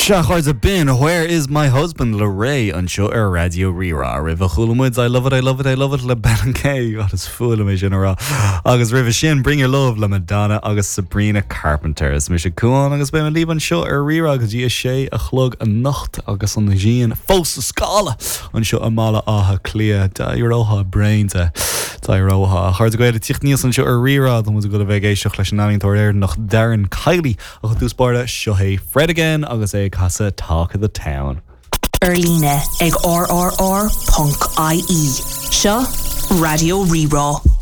Sea, a chairde, b'in Where Is My Husband le Raye anseo ar Raidió Rí-Rá. Roimhe chuala muid I Love It, I Love It, I Love It le Ben and Kay, God is fuath liom é sin a rá. Agus roimhe sin Bring Your Love le Madonna agus Sabrina Carpenter. Is mise Cuán agus beidh mé libh anseo ar Rí-Rá go dtí a sé a chlog anocht agus an ghrian fós ag scalladh anseo i mBaile Átha Cliath. D'éireofá bréan de. D'éireofá. A chairde Gael ag tíocht aníos anseo ar Rí-Rá, tá muid ag dul a bheith ag éisteacht leis an ealaíontóir Éireannach Darren Kiely. Ach i dtús báire, seo é Fred Again agus é ag casadh Talk of the Town. Ar líne ag rrr.ie. Seo Raidió Rí-Rá.